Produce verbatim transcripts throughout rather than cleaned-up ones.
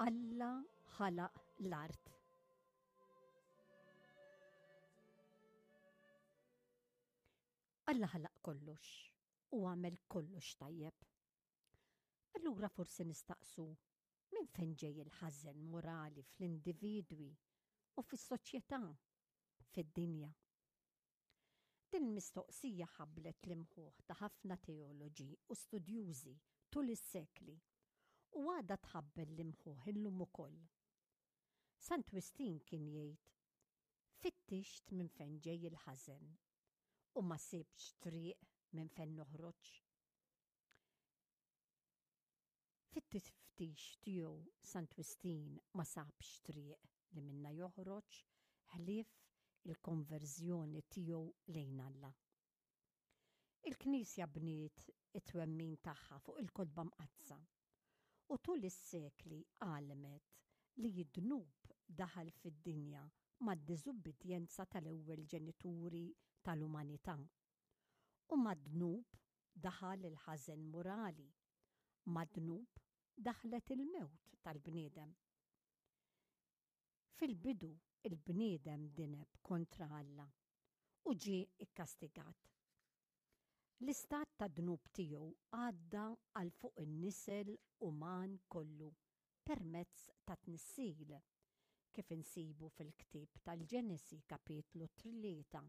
Alla ħalaq l-art. Alla ħalaq kollox u għamel kollox tajjeb. Allura forsi nistaqsu minn fejn ġej il-ħażen morali fl-individwi u fis-soċjetà, fid-dinja. Din il-mistoqsija ħabblet l-imħuħ ta' ħafna teoloġi u studjużi tul is-sekli u għadha tħabbel l-imħuħ illum ukoll. Sant Wistin kien jgħid, "Fittixt minn fejn ġej il-ħażen u ma sibtx triq minn fejn noħroġ." Fit-tiftix tiegħu Sant Wistin ma sabx triq li minnha joħroġ ħlief il-konverżjoni tiegħu lejn Alla. Il-Knisja bniet it-twemmin tagħha fuq il-Kotba Mqaddsa u tul is-sekli għallmet li d-dnub daħal fid-dinja mad-diżubbidjenza tal-ewwel ġenituri tal-umanità u mad-dnub daħal il-ħażen morali, mad-dnub daħlet il-mewt tal-bniedem. Fil-bidu il-bniedem dineb kontra Alla u ġie kkastigat. L-istat ta' dnub tiegħu għadda għal fuq in-nisel uman kollu permezz ta' tnissil, kif insibu fil-ktieb tal-Ġenesi kapitlu tlieta.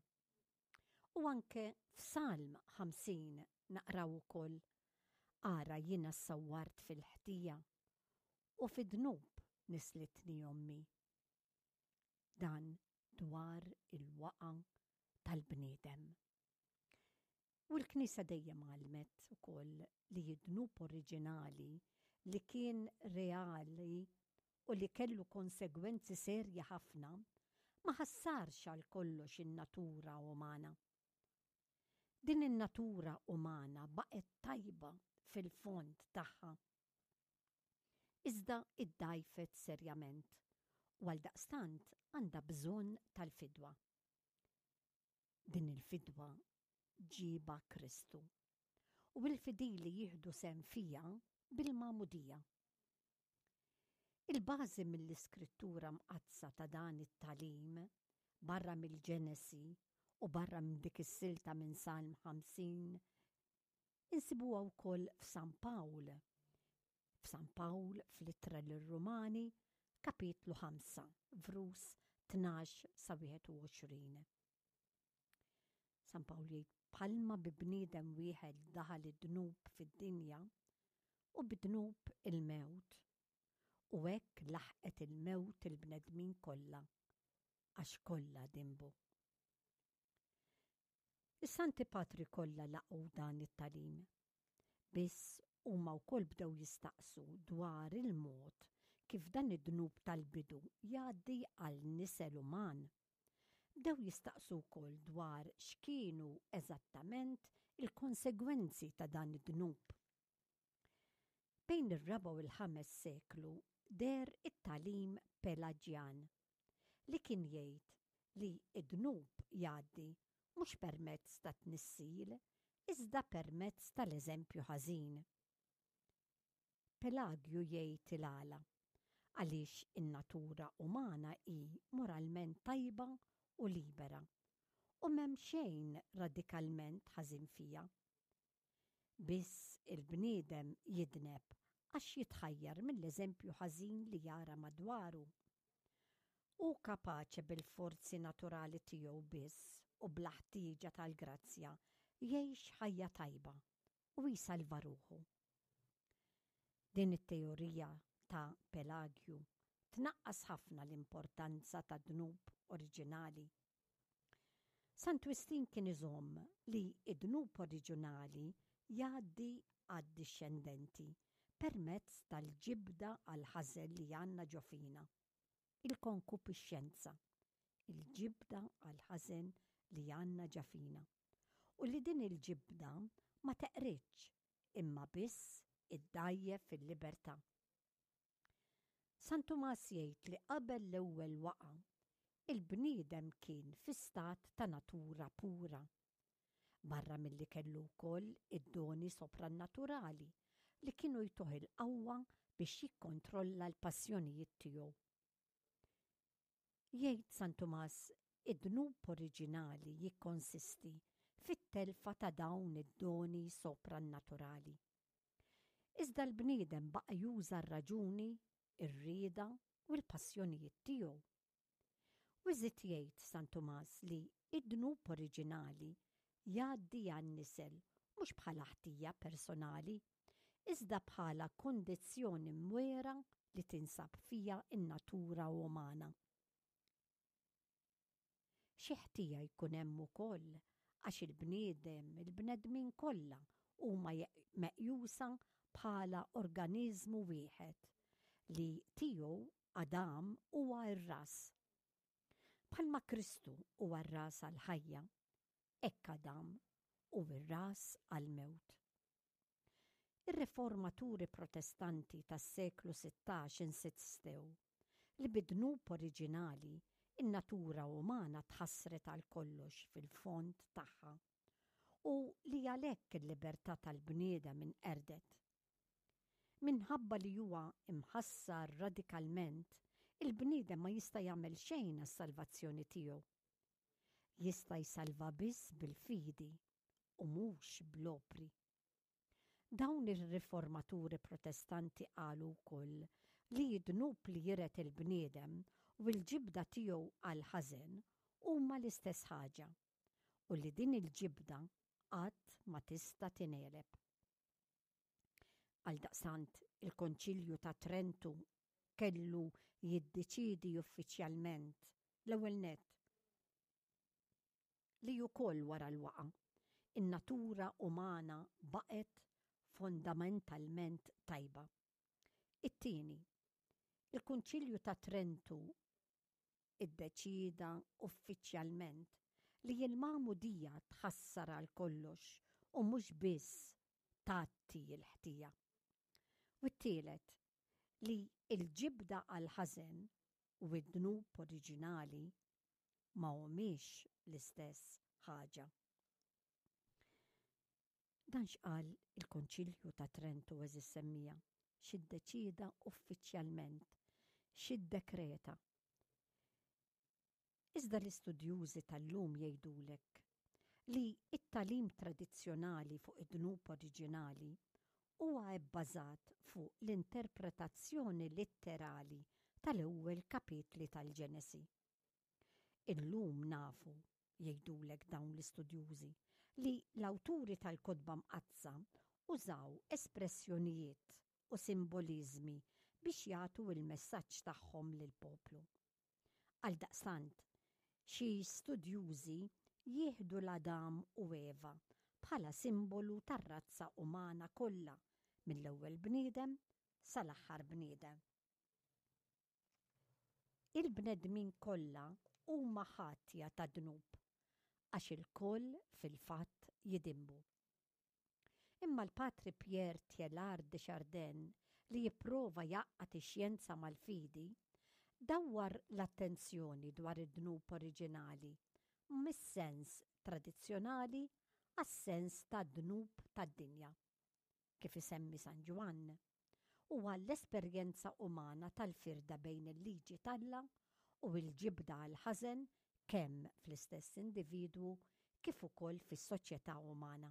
U anke f'Salm ħamsin naqraw ukoll, Ara jiena ssawwart fil-ħtija u fid-dnub nislitni ommi. Dan dwar il-waqa tal-bniedem. U l-Knisja dejjem għallmet ukoll li d-dnub oriġinali li kien reali u li kellu konsegwenzi serji ħafna ma ħassarx għal kollox in-natura umana. Din in-natura umana baqgħet tajba fil-fond tagħha. Iżda iddgħajfet serjament u għaldaqstant għandha bżonn tal-fidwa. Din il-fidwa ġiebha Kristu u l-fidili jieħdu sehem fiha bil-magħmudija. Il-bażi mill-Iskrittura Mqaddsa ta' dan it-tagħlim, barra mill-Ġenesi u barra minn dik is-silta minn Salm ħamsin, insibuha wkoll f'San Pawl. F'San Pawl fl-Ittra lir-Rumani, kapitlu ħamsa, vrus tnax sa wieħed u għoxrin. San Pawl jgħid, bħalma bi bniedem wieħed daħal id-dnub fid-dinja u bid-dnub il-mewt, u hekk laħqet il-mewt il-bnedmin kollha, għax kollha dinbu. Is-Santi Patri kollha laqgħu dan it-tagħlim. Biss huma wkoll bdew jistaqsu dwar il-mod kif dan id-dnub tal-bidu jgħaddi għal nisel uman. Bdew jistaqsu wkoll dwar x'kienu eżattament il-konsegwenzi ta' dan id-dnub. Bejn ir-raba' u l-ħames seklu deher it-tagħlim Pelaġjan li kien jgħid li d-dnub jgħaddi mhux permezz ta' tnissil iżda permezz tal-eżempju ħażin. Pelagju jgħid il-għala, għaliex in-natura umana hi moralment tajba u libera u m'hemm xejn radikalment ħażin fiha. Biss il-bniedem jidneb għax jitħajjar mill-eżempju ħażin li jara madwaru. Hu kapaċi bil-forzi naturali tiegħu biss u bla ħtieġa tal-grazzja jgħix ħajja tajba u jsalva ruħu. Din it-teorija ta' Pelagju tnaqqas ħafna l-importanza ta' dnub oriġinali. Sant Wistin kien iżomm li d-dnub oriġinali jgħaddi għad-dixxendenti permezz tal-ġibda għall-ħażen li għandna ġo fina, il-konkupixxenza, il-ġibda għall-ħażen li għandna ġa fina, u li din il-ġibda ma teqridx imma biss iddgħajjef fil-libertà. San Tumas jgħid li qabel l-ewwel waqgħa, il-bniedem kien fi stat ta' natura pura. Barra milli kellu wkoll id-doni soprannaturali li kienu jtuh il-qawwa biex jikkontrolla l-passjonijiet tiegħu. Jgħid San Tumas, id-dnub oriġinali jikkonsisti fit-telfa ta' dawn id-doni soprannaturali. Iżda l-bniedem baqa' juża r-raġuni, ir-rieda u l-passjonijiet tiegħu. U jżid jgħid San Tumas li id-dnub oriġinali jgħaddi għan-nisel mhux bħala ħtija personali, iżda bħala kondizzjoni mwera li tinsab fija in-natura umana. Xi ħtija jkun hemm ukoll għax il-bniedem, il-bnedmin kollha huma meqjusa bħala organiżmu wieħed li tiegħu Adam huwa r-ras. Bħalma Kristu huwa r-ras għall-ħajja, hekk Adam hu r-ras għall-mewt. Ir-riformaturi Protestanti tas-seklu sittax insistew li bid-dnub oriġinali in-natura umana tħassret għal kollox fil-fond tagħha u li għalhekk il-libertà tal-bniedem inqerdet. Minħabba li huwa imħassar radikalment, il-bniedem ma jista' jagħmel xejn għas-salvazzjoni tiegħu. Jista' jsalva biss bil-fidi u mhux bl-opri. Dawn ir-riformaturi Protestanti qalu wkoll li d-dnub li jiret il-bniedem u l-ġibda tiegħu għall-ħażen huma l-istess ħaġa u li din il-ġibda qatt ma tista' tingħeleb. Għaldaqstant il-Konċilju ta' Trentu kellu jiddeċiedi uffiċjalment l-ewwel nett li wkoll wara l-waqa' in-natura umana baqgħet fondamentalment tajba. It-tieni, il-Kunċilju ta' Trentu iddeċieda uffiċjalment li l-magħmudija tħassar għal kollox u mhux biss tgħatti l-ħtija. U t-tielet, li l-ġibda għall-ħażen u d-dnub oriġinali ma humiex l-istess ħaġa. Dan x'qal il-Konċilju ta' Trentu, għeżież semmiegħa, x'iddeċieda uffiċjalment, x'iddekreta. Iżda l-istudjużi tal-lum jgħidulek li t-tagħlim tradizzjonali fuq id-dnub oriġinali huwa bbażat fuq l-interpretazzjoni litterali tal-ewwel kapitli tal-Ġenesi. Illum nafu, jgħidulek dawn l-istudjużi, li l-awturi tal-Kotba Mqaddsa użaw espressjonijiet u simboliżmi biex jagħtu l-messaġġ tagħhom lill-poplu. Għaldaqstant, xi studjużi jieħdu l-Adam u Eva bħala simbolu tar-razza umana kollha mill-ewwel bniedem sal-aħħar bniedem. Il-bnedmin kollha huma ħatja ta' dnub għax ilkoll fil-fatt jidinbu. Imma l-Patri Pierre Teilhard de Chardin, li jipprova jgħaqqad ix-xjenza mal-fidi, dawwar l-attenzjoni dwar id-dnub oriġinali mis-sens tradizzjonali għas-sens tad-dnub tad-dinja, kif isemmi San Ġwann, u għall-esperjenza umana tal-firda bejn il-liġi t'Alla u l-ġibda għall-ħażen kemm fl-istess individwu kif ukoll fis-soċjetà umana.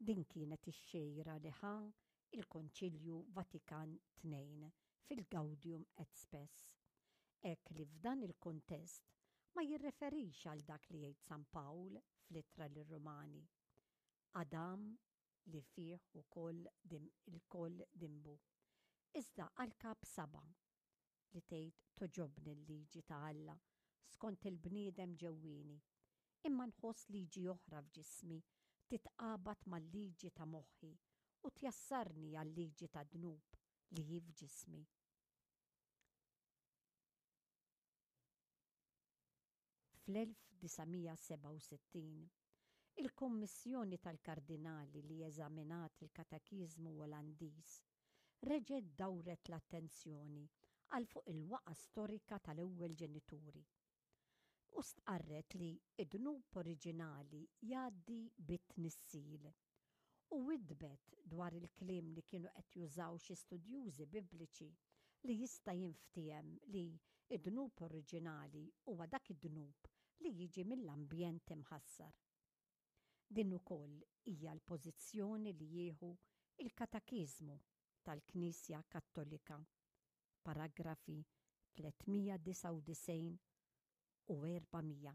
Din kienet ix-xejra li ħa il-Konċilju Vatikan Tnejn fil-Gaudium et Spes, hekk li f'dan il-kuntest ma jirreferix għal dak li jgħid San Pawl fl-Ittra lir-Rumani, Adam li fih ukoll ilkoll dinbu, iżda għal Kap saba' li tgħid togħġobni l-liġi ta' Alla skont il-bniedem ġewwieni, imma nħoss liġi oħra f'ġismi titqabad mal-liġi ta' moħħi u tjassarni għal-liġi tad-dnub li hi f'ġismi. Fl-elf disa' mija sebgħa u sittin, il-Kummissjoni tal-Kardinali li eżaminat il-Katekiżmu Olandiż reġgħet dawret l-attenzjoni għal fuq il-waqgħa storika tal-ewwel ġenituri. U stqarret li id-dnub oriġinali jgħaddi bit-tnissil. U widdbet dwar il-kliem li kienu qed jużaw xi studjużi bibliċi li jista' jinftiehem li id-dnub oriġinali huwa dak id-dnub li jiġi mill-ambjent imħassar. Din ukoll hija l-pożizzjoni li jieħu il-Katekiżmu tal-Knisja Kattolika, paragrafi tliet mija disgħa u disgħin u erba' mija.